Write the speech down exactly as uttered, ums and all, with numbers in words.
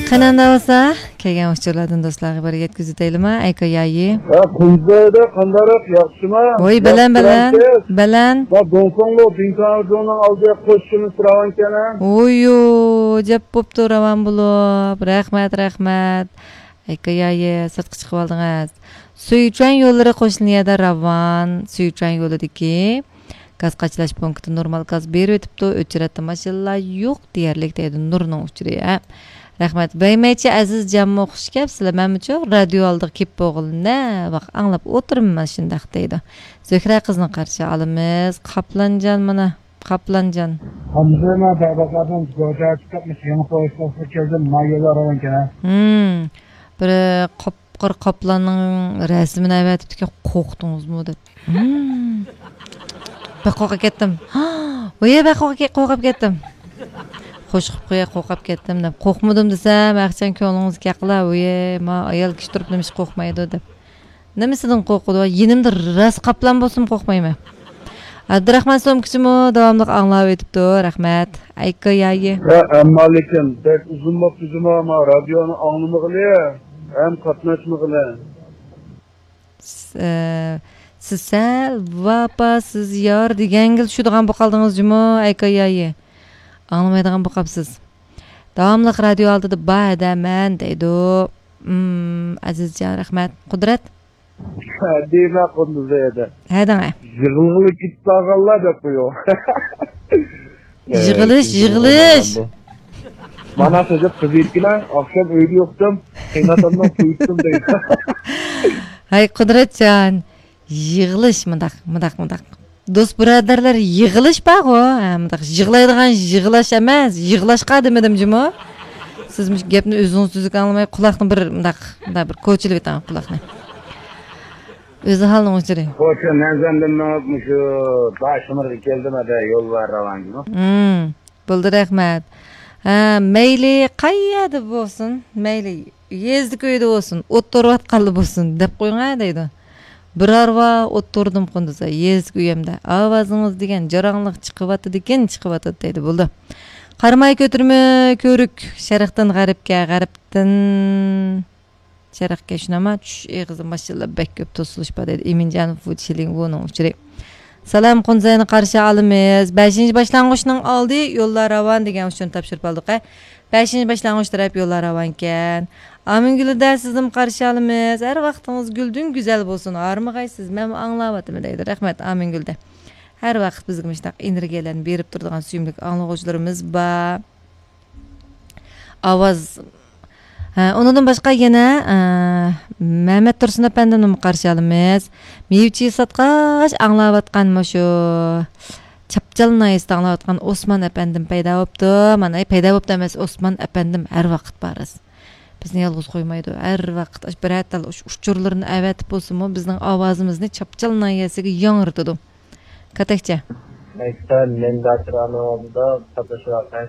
قېنى ئاندا بولسا، كەلگەن ئۇچۇرلاردىن دوستلارغا بىر يەتكۈزۈۋېتەيلىما، ئەيكا يايى؟ ھە، قۇمزايدا قانداقراق، ياخشىما؟ ۋوي، بەلەن، بەلەن، بەلەن. ما دونفاڭلو دىڭتاڭجۇنىڭ ئالدىغا قوشۇشىمىز راۋانكەن ھە؟ ۋويۇ، جەپ بوپتۇ راۋان بولۇپ. رەھمەت، رەھمەت. ئەيكا يايى، سىرتقا چىقىۋالدىڭىز. سۈيچۈەن يوللىرى قوشۇلىدىغان يەردە راۋان، سۈيچۈەن يولىدىكى گاز قاچىلاش پونكىتى نورمال گاز بېرىۋېتىپتۇ، ئۆچىرەتتە ماشىنىلار يوق دېيەرلىك دەيدۇ نۇرنىڭ ئۇچۇرى، ھە. رەھمەت. ۋەيمەيچە ئەزىز جانمۇ خۇش كەپسىلە، مەنمۇچۇ رادىيو ئالدىغا كېلىپ بولغىلى نەۋاق ئاڭلاپ ئولتۇرىمەن شۇنداق دەيدۇ. زۆھرە قىزنى قارشى ئالىمىز، قاپلانجان مانا، قاپلانجان. ھەمزە مەن بەربازاردىن گوجا چىقىپ مۇشۇ يېڭى پويىزغا كەلدىم، ما يوللار راۋانكەن ھە. ھىم، بىر قاپقارا قاپلاننىڭ رەسىمىنى ئەۋەتىپتىكەن، قورقتىڭىزمۇ دەپ. ھىم. بەك قورقۇپ كەتتىم. ۋوي، بەك قورقۇپ، قورقۇپ كەتتىم. خوش قىپقۇ، قورقۇپ كەتتىم دەپ. قورقمىدىم دېسەم، ئەخچان كۆڭلىڭىزگە كەقلا، ۋوي، ما ئايال كىشى تۇرۇپ نېمىشقا قورقمايدۇ دەپ. نېمىسىدىن قورقىدۇ؟ يېنىمدا راست قاپلان بولسىمۇ قورقمايمەن. ئابدۇراخمان سومكىچىمۇ داۋاملىق ئاڭلاۋېتىپتۇ، رەھمەت. ئەيكا يايى. ھە، ئەمما لېكىن بەك ئۇزۇن بوپتۇ جۇما، ما رادىيونى ئاڭلىمىغىلى، ھەم قاتناشمىغىلى. س-، ئە، سىز سەل ۋاپاسىز يار دېگەنگىلا چۈشىدىغان بولۇپ قالدىڭىز جۇمۇ، ئەيكا يايى. ئاڭلىمايدىغان بولۇپ قاپسىز. داۋاملىق رادىيو ئالدىدا بار ھەدە مەن دەيدۇ. ئىم، ئەزىزجان، رەھمەت. قۇدرەت؟ دېمە قۇندۇزى ئەدە. ھەدەڭە. يىغلىغىلى كېتىپ قالغانلار دەپ قويۇڭ. يىغىلىش، يىغىلىش. مانا سۆزۈپ قىزىيتكىنە، ئاخشام ئۆيدە يوقتۇم، قېيىنئاتامنىڭ تويۇتتۇم دەيدۇ. ھەي، قۇدرەتجان، يىغىلىش، مۇنداق، مۇنداق، مۇنداق. دوست بۇرادەرلەر يىغىلىش بارغۇ، ھە، مۇنداق يىغلايدىغان يىغلاش ئەمەس، يىغلاشقا دېمىدىم جۇمۇ. سىز مۇشۇ گەپنى ئۆزىڭىز تۈزۈك ئاڭلىماي، قۇلاقنى بىر مۇنداق، مۇنداق بىر كوچىلىۋېتىڭ قۇلاقنى. ئۆزى ھالنىڭ ئۇچۇرى. خوش، مەنزىلدىن مېڭىپ مۇشۇ داشمىرغا كەلدىم، ھەدە يوللار راۋان جۇمۇ. ھىم. بولدى، رەھمەت. ھە، مەيلى قەيەردە بولسۇن، مەيلى يېزىدىكى ئۆيدە بولسۇن، ئوت تورۇۋاتقانلا بولسۇن، دەپ قويۇڭ ھە دەيدۇ. بىر ھارۋا ئوت توردۇم قۇندىزى، يېزىدىكى ئۆيۈمدە. ئاۋازىڭىز دېگەن جاراڭلىق چىقىۋاتىدىكەن، چىقىۋاتىدۇ دەيدۇ. بولدى. قاراماي كۆتۈرمە كۆۋرۈك، شەرقتىن غەربكە، غەربتىن شەرقكە شۇناما چۈش ئېغىزى ماشىنىلار بەك كۆپ توسۇلۇش بار دەيدۇ. ئىمىنجان فۇچىلىڭ ۋۇنىڭ ئۇچۇرى. سالام، قۇنزەينى قارشى ئالىمىز. بەشىنچى باشلانغۇچنىڭ ئالدى يوللار راۋان دېگەن ئۇچۇرنى تاپشۇرۇپ ئالدۇق ھە. بەشىنچى باشلانغۇچ تەرەپ يوللار راۋانكەن. ئامىنگۈلدە سىزنىمۇ قارشى ئالىمىز. ھەر ۋاقتىڭىز گۈلدىن گۈزەل بولسۇن. ھارمىغايسىز، مەنمۇ ئاڭلاۋاتىمەن دەيدۇ. رەھمەت، ئامىنگۈلدە. ھەر ۋاقىت بىزگە مۇشۇنداق ئېنېرگىيەلەرنى بېرىپ تۇرىدىغان سۆيۈملۈك ئاڭلىغۇچىلىرىمىز بار. ئاۋاز. ھە، ئۇنىڭدىن باشقا يەنە، ئە، مەمەت تۇرسۇن ئەپەندىمنىمۇ قارشى ئالىمىز. مېۋە-چېۋە ساتقاچ ئاڭلاۋاتقان مۇشۇ چاپچال ناھىيەسىدە ئاڭلاۋاتقان ئوسمان ئەپەندىم پەيدا بوپتۇ. مانا، ئەي، پەيدا بوپتۇ ئەمەس، ئوسمان ئەپەندىم ھەر ۋاقىت بار. بىزنى يالغۇز قويمايدۇ. ھەر ۋاقىت ئاش-، بىرەر تال ئۇچ-، ئۇچۇرلىرىنى ئەۋەتىپ بولسىمۇ، بىزنىڭ ئاۋازىمىزنى چاپچال ناھىيەسىگە ياڭرىتىدۇ. كاتەكچە. مەكتەپ مەنبەسىرانىڭ ئالدىدا قاتنىشىۋاتقان